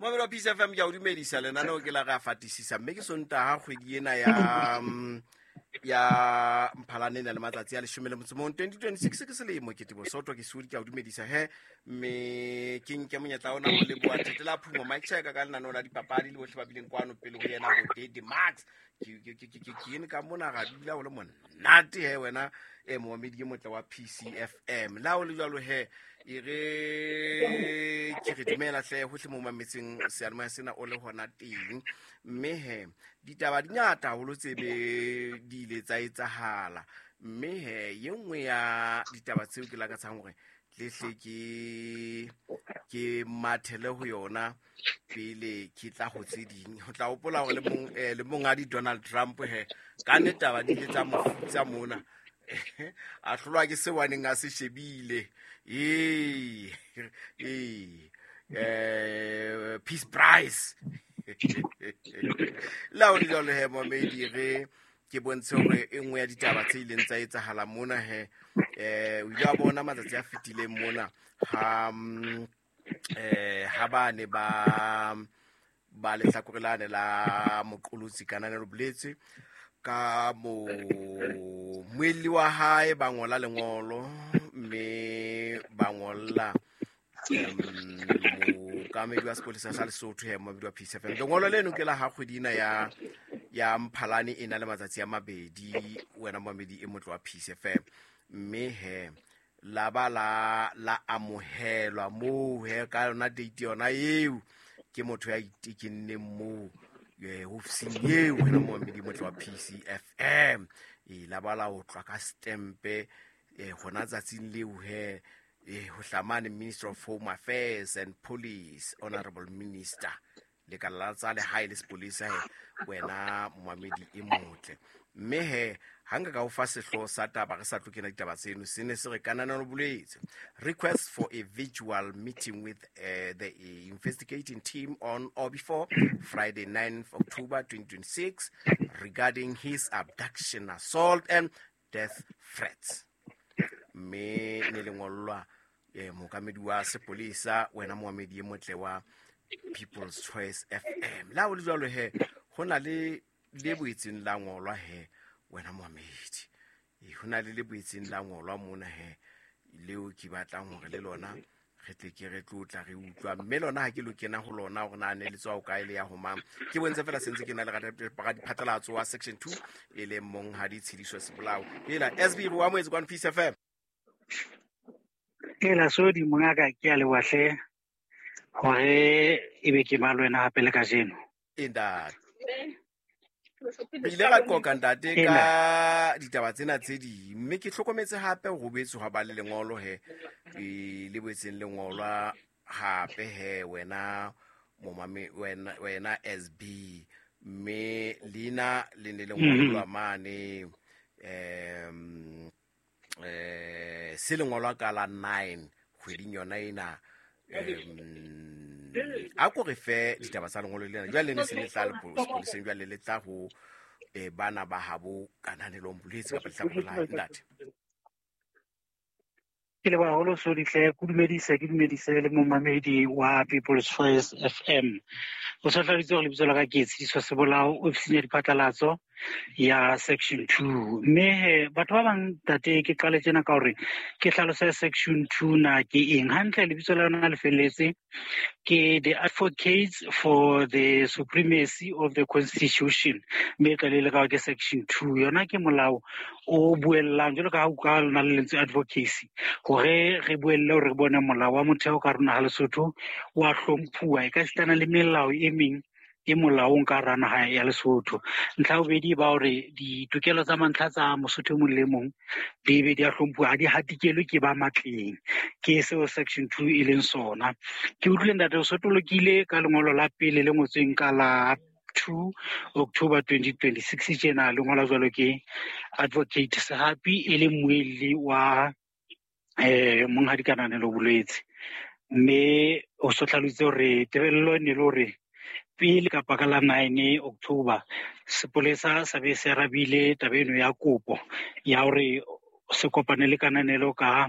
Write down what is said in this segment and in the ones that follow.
Momamedi wa Peace FM, ke a o dumedisa. Lenaneo ke la Re a Fatisisa, mme ke Sontaga, kgwedi ena ya Mphalane e na le matsatsi a 11, 2026 ke selemo. Ke Tebo Soto, ke Sudi, ke a o dumedisa he, mme ke nke monyetla ona ho leboha Thetela Phumo Mike Cheka ka lenaneo la dipapadi le bohle ba bileng kwano pele ho yena, bo Dede Max. Ke ene ka mona, ga dula o le monate he, wena e momamedi e motle wa PCFM. Le ha o le jwalo he, e re ke re dumela hle hohle mo mametseng seyalemoya sena o le hona teng. Mme he, ditaba di ngata haholo tse be di ile tsa etsahala, mme he, ye nngwe ya ditaba tseo ke lakatsang hore tlehle ke mathele ho yona pele ke tla ho tse ding, ho tla hopola hore le monghadi Donald Trump he, ka nne taba di ile tsa mofutsa mona, a hlolwa ke seo a neng a se shebile. Ee, peace prize. Le ha o le jwalo he, momedi, re ke bontshe hore e nngwe ya ditaba tse ileng tsa etsahala mona he, o ile wa bona matsatsi a fetileng mona ha ba ne ba lehlakore lane la moqolotsi Kananelo Boletse ka mo muelli wa hae ba ngola lengolo, mme ba ngolla mookamedi wa sepolesa sa Lesotho he, momamedi wa Peace FM. Lengolo leno ke la ha kgwedi ena ya Mphalane e na le matsatsi a 2, wena momamedi e motle wa Peace FM, mme he la ba la amohelwa moo he ka yona date yona eo ke motho ya itekenneng moo ofising eo, wena momamedi motle wa PCFM. E la ba la otlwa ka stempe hona tsatsing leo he, ho hlamane Minister of Home Affairs and Police, Honorable Minister, lekala la tsa lehae le sepolesa he, wena momamedi e motle. Mme he, ha nka ka o fa sehlooho sa taba re sa tlo kena ditaba tseno, se ne se re Kananelo Boletse request for a virtual meeting with the investigating team on or before Friday 9 October 2026 regarding his abduction, assault and death threats. Mme ne le ngollwa mookamedi wa sepolesa, wena moamedi e motle wa People's Choice FM. Le ha o le jwalo he, ho na le le boetseng la ngolwa he, wena moamedi, ho na le le boetseng la ngolwa mona he, leo ke batlang hore le lona re tle ke re tlotla re utlwa, mme lona ha ke lo kena ho lona hore na ne le tswa ho kae, le ya ho mang. Ke bontshe fela sentse ke na le radiphatlalatso wa Section 2, e leng monghadi Tshediso Sebolao. Ela SB, re o amohetse kwano Peace FM. Ela Sodi, mongaka, ke a leboha hle hore ebe ke ba le wena hape le kajeno. E ntate, re ile ra qoqa, ntate, ka ditaba tsena tse ding, mme ke hlokometse hape ho boetse hwa ba le lengolo he, le boetseng lengolwa hape he, wena momame, wena SB, mme leina le ne le ngolwa mane se lengolwa ka la 9 kgweding yona ena. A ko re fe ditaba tsa lengolo lena jwale, ne se le tla sepoleseng, jwale le tla ho bana ba habo Kananelong Boletse kapa lehlakore la hae, ntate. Ke leboha haholo, Sodihle. Ke dumedise, ke dumedise le momamedi wa People's Choice FM. O sa hlalositse hore lebitso la ka ke Tshediso Sebolao, ofising ya diphatlalatso ya Section 2. Mme he, batho ba bang, tate, ke qale tjena ka hore ke hlalose Section 2 na ke eng. Hantle lebitso la yona le felletse ke the Advocates for the Supremacy of the Constitution, mme e tla le ka ke Section 2. Yona ke molao o buellang, jwalo ka ha o ka lona le lentswe advocacy, hore re buelle hore re bone molao wa motheo ka rona ha Lesotho wa hlomphuwa, e ka sitana le melao e meng e molaong ka hara naha ya Lesotho. Ntlha ya bobedi ba hore ditokelo tsa mantlha tsa Mosotho e mong le mong di be di a hlomphuwa, ha di hatikelwe ke ba matleng. Ke seo Section 2 e leng sona. Ke utlwile, ntate, o sotolokile ka lengolo la pele le ngotsweng ka la 2 October 2026 tjena, le ngola jwalo ke Advocate Sehapi, e le mmuelli wa monghadi Kananelo Bolwetse, mme o so hlalositse hore tebello e ne le hore pele kapa ka la 9 October sepolesa sa be se arabile taba eno ya kopo ya hore se kopane le Kananelo ka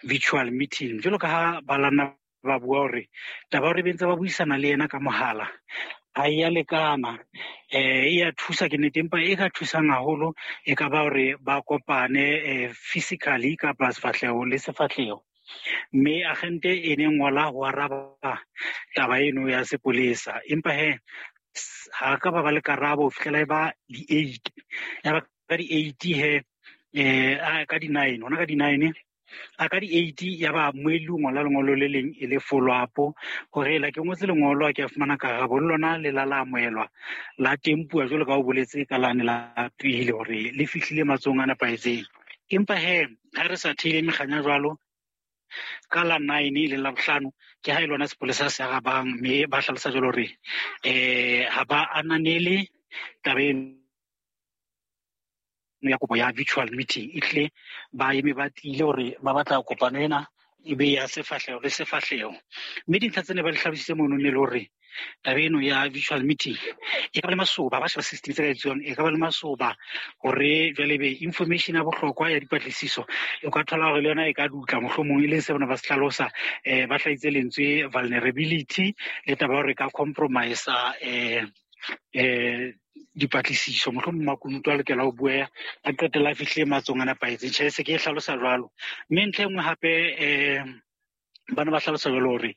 virtual meeting, jwalo ka ha ba lana. ba bua hore taba hore be ntse ba buisana le yena ka mohala ha e ya lekana. E ya thusa ke nnete, empa e ka thusang haholo e ka ba hore ba kopane physically kapa sefahleho le sefahleho. Mme agente e ne ngola ho araba taba eno ya sepolesa, empa he ha ka ba le karabo ho fihlela e ba di-8. Ya ba ka di-8 he ka di-9, hona ka di-9 a ka di-8 ya ba moelli o ngola lengolo le leng e le follow up hore la ke ngotse lengolo a ke a fumana karabo, le lona le la la amohelwa la tempuwa jwalo ka o boletse ka lane la pele hore le fihlile matsohong a nepahetseng. Empa he ha re sa theile mekganya jwalo, ka la 9 le la bohlano ke ha e lona sepolesa se arabang, mme ba hlalosa jwalo hore ha ba ananele taba eno ya kopo ya virtual meeting. E hlile ba eme ba tiile hore ba batla kopano ena e be ya sefahleho le sefahleho. Mme dintlha tsene ba di hlalositse mono ne le hore taba eno ya virtual meeting e ka ba le masoba, ba sheba system tse ka etsuwang, e ka ba le masoba hore jwale be information ya bohlokwa ya dipatlisiso o ka thola hore le yona e ka dutla mohlomong, e leng se bona ba se hlalosa. Ba hlahitse lentswe vulnerability le taba ya hore ka compromise dipatlisiso, mohlomong makunutu a lokela ho bueha a qetella a fihlile matsohong a nepahetseng. Tjhe, se ke e hlalosa jwalo. Mme ntlha e nngwe hape bana ba hlalosa jwalo hore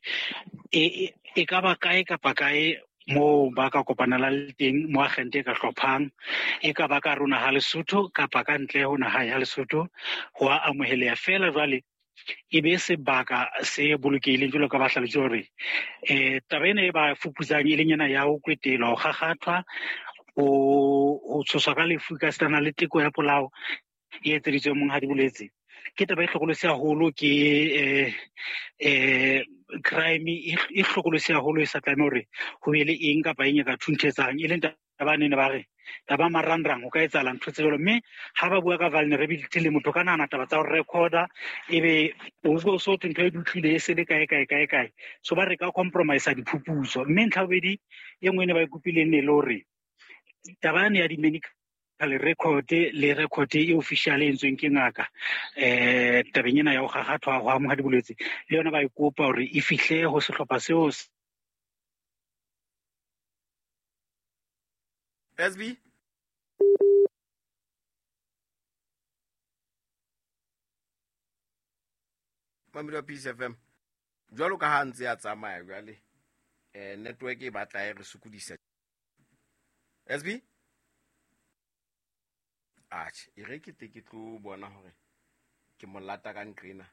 e ka ba kae kapa kae moo ba ka kopanelang le teng, mo agente e ka hlophang, e ka ba ka hare ho naha Lesotho kapa ka ntle ho naha ya Lesotho, ho a amoheleha feela. Jwale e be sebaka se bolokehileng jwalo ka ba hlalositse hore taba ena e ba fuputsang e leng ena ya ho kwetelwa, ho kgakgathwa, ho tshoswa ka lefu ka sitana le teko ya polao e etseditsweng Monghadi Boletse, ke taba e hlokolosi haholo, ke crime e hlokolosi haholo, e sa tlameha hore ho be le eng kapa eng e ka thunthetsang, e leng taba ne ba re taba marangrang ho ka etsahala ntho tse jwalo. Mme ha ba bua ka vulnerability le motho ka nahana taba tsa ho recorda, ebe o so thwe ntho e dutlile e se le kae kae kae kae, so ba re ka compromise diphuputso. Mme ntlha bobedi e nngwe ne ba e kopileng ne le hore taba yane ya di-medical record le record e official e entsweng ke ngaka tabeng ena ya ho kgakgathwa ho amoha dibolwetse, le yona ba e kopa hore e fihle ho sehlopha seo. SB Mamedi wa Peace FM, jwalo ka ha ntse a tsamaya jwale network e batla e re sokodisa. SB atjhe, e re ke tle ke tlo bona hore ke molata ka nqena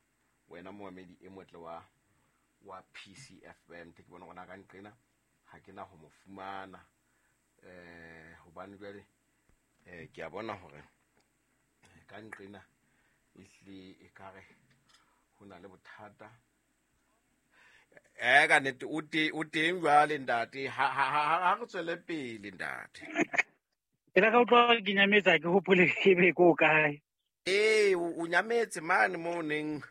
wena moamedi e motle wa PCFM, ke bona hore na ka nqena ha ke na ho mo fumana hobane jwale ke a bona hore ka nqena ehlile e kare ho na le bothata. Ka nnete o teng jwale ntate, ha re tswele pele ntate. E la ka utlwa ke nyametsa, ke hopole ke be ko kae. Ee, o nyametse mane mo neng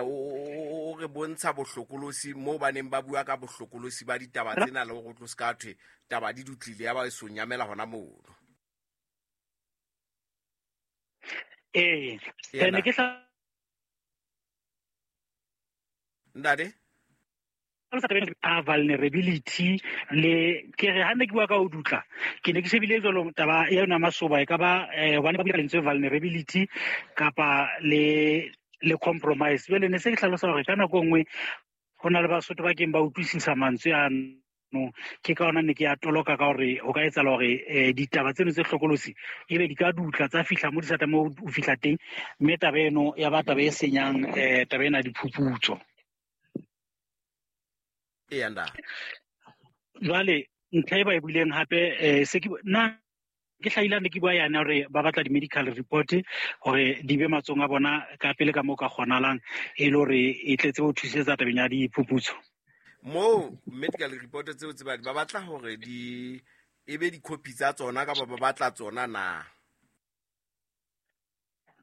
o re bontsha bohlokolosi mo ba neng ba bua ka bohlokolosi ba ditaba tsena le hore o tlo se ka thwe taba di dutlile ya ba e so nyamela hona mono. Ee, ne ke ntate a vulnerability le ke re ha ne ke bua ka ho dutla, ke ne ke shebile jwalo taba ya yona masoba e ka ba hobane ba bua lentswe vulnerability kapa le compromise. Jwale ne se ke hlalosa hore ka nako e nngwe ho na le Basotho ba keng ba utlwisisa mantswe ano, ke ka ona ne ke a toloka ka hore ho ka etsahala hore ditaba tseno tse hlokolosi ebe di ka dutla tsa fihla mo di sa tlameha ho fihla teng, mme taba eno ya ba taba e senyang taba ena diphuputso. Jwale ntlha e ba e buileng hape se ke nna ke hlahile ne ke bua yana hore ba batla di-medical report hore di be matsohong a bona ka pele ka moo ka kgonahalang, e le hore e tletse ho thusetsa tabeng ya diphuputso. Moo medical report tseo tse ba batla hore di e be di-copy tsa tsona kapa ba batla tsona na?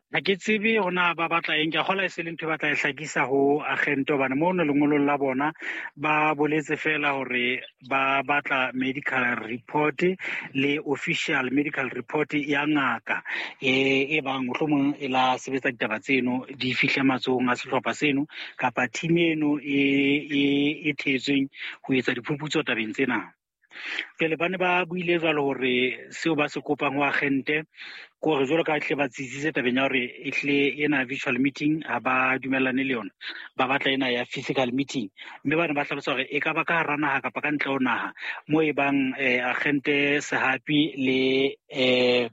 Ha ke tsebe hore na ba batla eng, ke a kgolwa e se le ntho e batla e hlakisa ho agente, hobane mono lengolong la bona ba boletse fela hore ba batla medical report le official medical report ya ngaka e bang mohlomong e la sebetsa ditaba tseno di fihle matsohong a sehlopha seno kapa team eno e thetsweng ho etsa diphuputso tabeng tsena. Jwale ba ne ba buile jwalo hore seo ba se kopang ho agente ke hore jwalo ka hle ba tsitsitse tabeng ya hore ehlile ena virtual meeting ha ba dumellane le yona, ba batla ena ya physical meeting. Mme ba ne ba hlalosa hore e ka ba ka hara naha kapa ka ntle ho naha moo e bang agente Sehapi le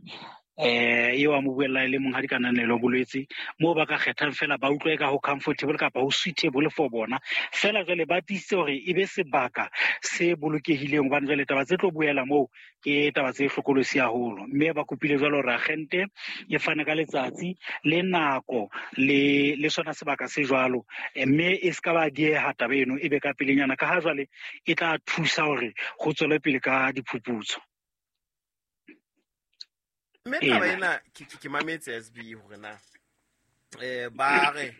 eo a mo buella e le monghadi Kananelo Bolwetse, moo ba ka kgethang fela ba utlwe ka ho comfortable kapa ho suitable for bona. Fela jwale ba tiisitse hore e be sebaka se bolokehileng, hobane jwale taba tse tlo buela moo ke taba tse hlokolosi haholo. Mme ba kopile jwalo hore agente e fane ka letsatsi le nako le sona sebaka se jwalo, mme e ska ba dieha taba eno, e be ka pelenyana, ka ha jwale e tla thusa hore ho tswele pele ka diphuputso. Mme taba ena ke mametse SB hore na ba re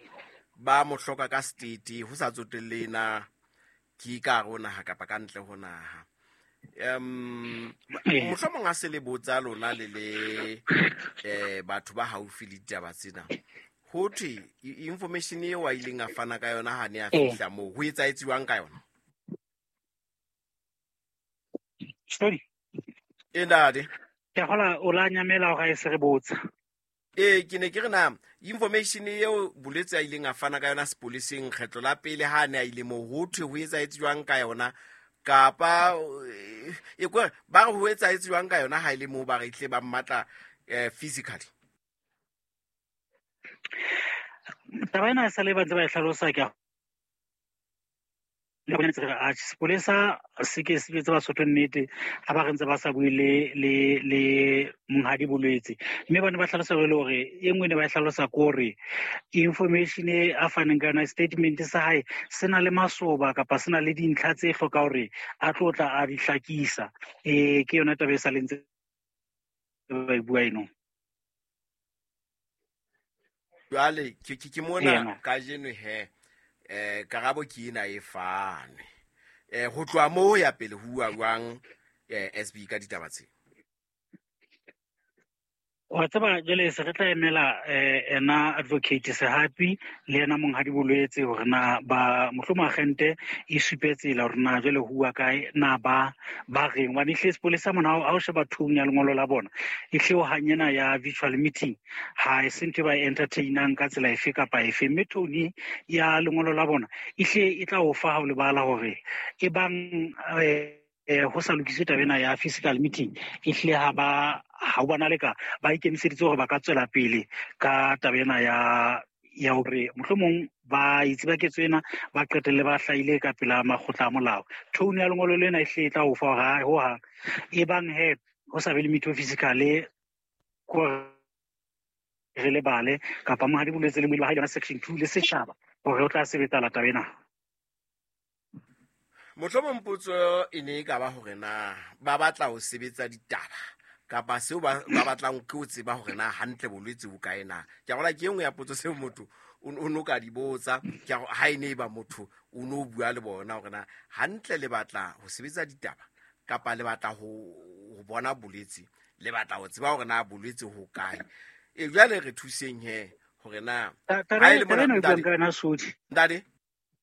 ba mo hloka ka state ho sa tsotelle na ke ka hare ho naha kapa ka ntle ho naha. Mohlomong a se le botsa lona le le batho ba haufi le ditaba tsena, ho thwe information eo a ileng a fana ka yona ha ne a fihla moo, ho etsahetsiwang ka yona? Sorry. Ntate. Ke a kgolwa o la nyamela hore a e se re botsa. Ke ne ke re na information eo Bolwetse a ileng a fana ka yona sepoleseng kgetlo la pele ha ne a ile moo, ho thwe ho etsahetse jwang ka yona, kapa e kwe ba re ho etsahetse jwang ka yona ha ile moo ba re tle ba mmatla physically? Taba ena e sa le ba ntse ba e hlalosa, ke a le bona ntse re re, atjhe, sepolesa se ke se jwetse Basotho nnete ha ba re ntse ba sa bue le monghadi Bolwetse. Mme ba ne ba hlalosa jwale hore e nngwe ne ba e hlalosa ke hore information e a faneng ka yona, statement sa hae se na le masoba kapa se na le dintlha tse hlokang hore a tlo tla a di hlakisa. Ke yona taba e sa le ntse ba e bua eno. Jwale ke mona kajeno he, karabo ke ena e fane. Ho tloha moo ho ya pele ho bua jwang SB ka ditaba tse? Wa tseba jwale se re tla emela ena advocate Sehapi le ena monghadi Bolwetse hore na ba mohlomong agente e supe tsela hore na jwale ho bua kae, na ba reng. Hobane ehlile sepolesa mona ha o sheba tone ya lengolo la bona, ehlile ho hang ena ya virtual meeting ha e se ntho e ba e entertainang ka tsela efe kapa efe. Mme tone ya lengolo la bona ehlile e tla o fa ha o lebala hore e bang ho sa lokiswe taba ena ya physical meeting, ehlile ha ba ha o bona le ka ba ikemiseditse hore ba ka tswela pele ka taba ena ya hore mohlomong ba itse ba ketso ena ba qetelle ba hlahile ka pela makgotla a molao. Tone ya lengolo lena ehlile e tla o fa hore ha ho hang e bang he ho sa be le meeting physically, ko re lebale kapa monghadi Bolwetse le moile wa hae yona section 2 le setjhaba hore o tla sebetsa la taba ena. Mohlomong potso e ne e ka ba hore na ba batla ho sebetsa ditaba kapa seo ba batlang ke ho tseba hore na hantle bolwetse bo kae na. Ke a gola ke e nngwe ya potso seo motho o no ka di botsa, ke a ha e ne e ba motho o no bua le bona hore na hantle le batla ho sebetsa ditaba kapa le batla ho bona bolwetse, le batla ho tseba hore na bolwetse ho kae. Jwale re thuseng he hore na ha e le mona ntate.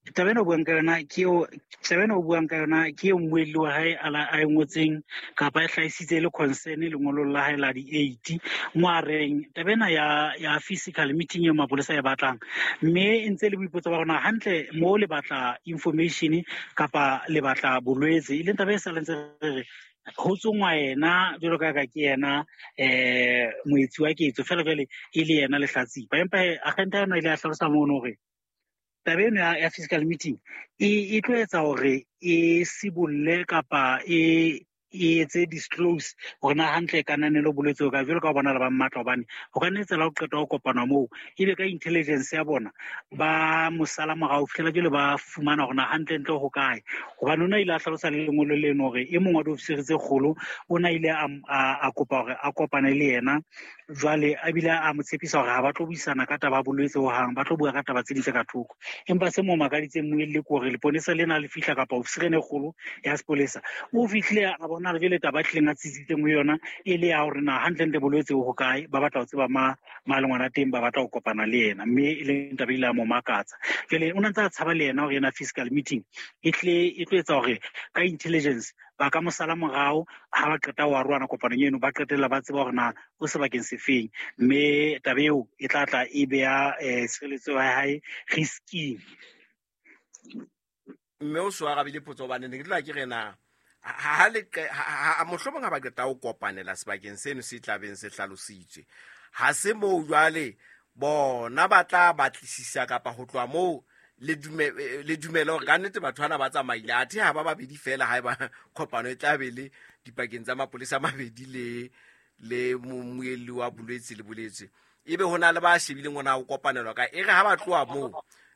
Taba ena o buang ka yona ke eo, taba ena o buang ka yona ke eo mmuelli wa hae a la, a e ngotseng kapa e hlahisitse le concern lengolong la hae la di-8, mo a reng taba ena ya physical meeting eo mapolesa e batlang, mme e ntse le boipotso ba rona hantle mo le batla information kapa le batla bolwetse, e leng taba e sa leng ntse re re ho tsongwa yena jwalo ka ka ke yena moetsi wa ketso, fela jwale e le yena lehlatsipa. Empa agente ya yona ile ya hlalosa mono hore taba eno ya physical meeting e tlo etsa hore e sibolle kapa e e etse disclose hore na hantle kananelo bolwetse ka jwalo ka ho bona le ba mmatla, hobane ho ka nne tsela ho qeta ho kopana moo ebe ka intelligence ya bona ba mosala morao fihlela jwale ba fumana hore na hantlentle ho kae. Hobane o na ile a hlalosa le lengolo leno hore e mong wa diofisiri tse kgolo o na ile a kopa hore a kopane le yena, jwale a bile a mo tshepisa hore ha ba tlo buisana ka taba ya bolwetse hohang, ba tlo bua ka taba tse ding tse ka thoko. Empa se mo makaditseng moelli ke hore leponesa lena le fihla kapa ofisiri ena e kgolo ya sepolesa o fihlile a bona hore jwale taba e tlileng a tsitsitseng ho yona e le ya hore na hantlentle bolwetse bo hokae, ba batla ho tseba ma le ngwana teng, ba batla ho kopana le yena, mme e leng taba ile ya mo makatsa. Jwale o ne ntse a tshaba le yena hore yena physical meeting e tlo etsa hore ka intelligence ba ka mo sala morao ha ba qeta ho arohana kopanong eno, ba qetella ba tseba hore na o sebakeng sefeng, mme taba eo e tla tla e beha tshireletso ya hae risking. Mme o so arabile potso, hobane ne ke tla ke re na ha le ha mohlomong ha ba qeta ho kopanela sebakeng seno se tlabeng se hlalositswe, ha se moo jwale bona ba tla batlisisa kapa ho tloha moo le dumele hore ka nnete batho bana ba tsamaile, athe ha ba babedi fela ha eba kopano e tla be le dipakeng tsa mapolesa a mabedi le moelli wa bolwetse le bolwetse, ebe ho na le ba shebileng hore na o kopanelwa kae. E re ha ba tloha moo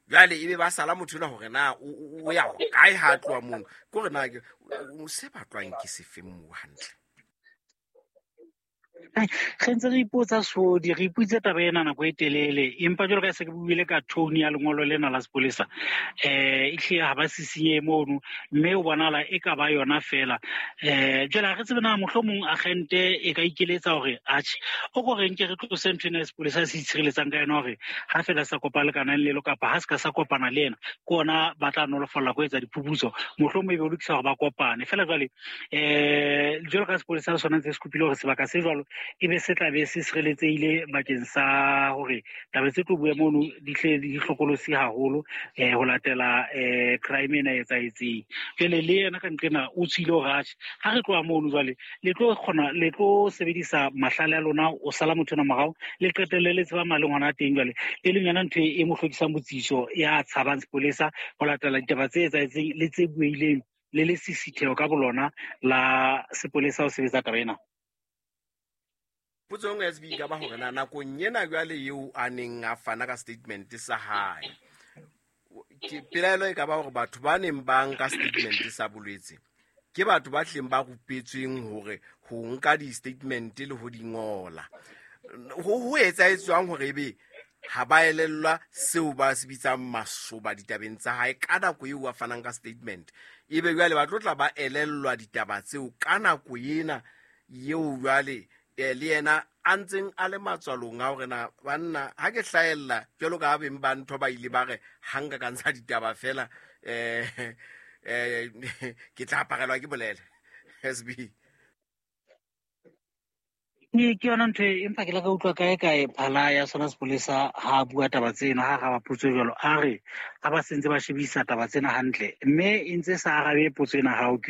jwale ebe ba sala motho enwa hore na o ya hokae ha a tloha mono, ke hore na se batlwang ke sefeng moo hantle. Re ntse re ipotsa sodi, re ipotse taba ena nako e telele, empa jwalo ka se ke buile ka tone ya lengolo lena la sepolesa, ehlile ha ba sisinye mono, mme o bonahala e ka ba yona fela. Jwale ha re tsebe na mohlomong agente e ka ikeletsa hore atjhe o ko re nke re tlose ntho ena ya sepolesa se itshireletsang ka yona, hore ha fela sa kopa lekanang lelo kapa ha se ka sa kopana le yena, ke ona ba tla nolofalla ko etsa diphuputso, mohlomong e be o lokisa hore ba kopane fela. Jwale jwalo ka sepolesa le sona ntse se kopile hore sebaka se jwalo e be se tla be se sireletsehile bakeng sa hore taba tse tlo bua mono di hle di hlokolosi haholo ho latela crime ena e etsahetseng. Jwale le yena ka nqena o tswile hore atjhe ha re tloha mono jwale le tlo kgona le tlo sebedisa mahlale a lona o sala motho ena morao, le qetelle le tseba maleng hona teng. Jwale e leng yona ntho e mo hlokisang botsitso ya tshabang sepolesa ho latela ditaba tse etsahetseng le tse bueileng le le sisitheo ka bolona la sepolesa ho sebetsa taba ena. Potso e nngwe ya SB ka ba hore na nakong ena jwale eo a neng a fana ka statement sa hae, ke pelaelo e ka ba hore batho ba neng ba nka statement sa bolwetse ke batho ba hleng ba rupetsweng hore ho nka di-statement le ho di ngola. Ho etsahetswang hore ebe ha ba elellwa seo ba se bitsang masoba ditabeng tsa hae ka nako eo a fanang ka statement, ebe jwale ba tlo tla ba elellwa ditaba tseo ka nako ena eo jwale le yena a ntseng a le matswalong a hore na banna ha ke hlahella jwalo ka beng ba ntho ba ile ba re ha nka ka ntsha ditaba fela ke tla aparelwa ke bolele. SB ke yona ntho empa ke la ka utlwa kae kae phala ya sona sepolesa ha bua taba tseno, ha araba potso jwalo, a re ha ba sentse ba shebisa taba tsena hantle, mme e ntse sa arabe potso ena hao ke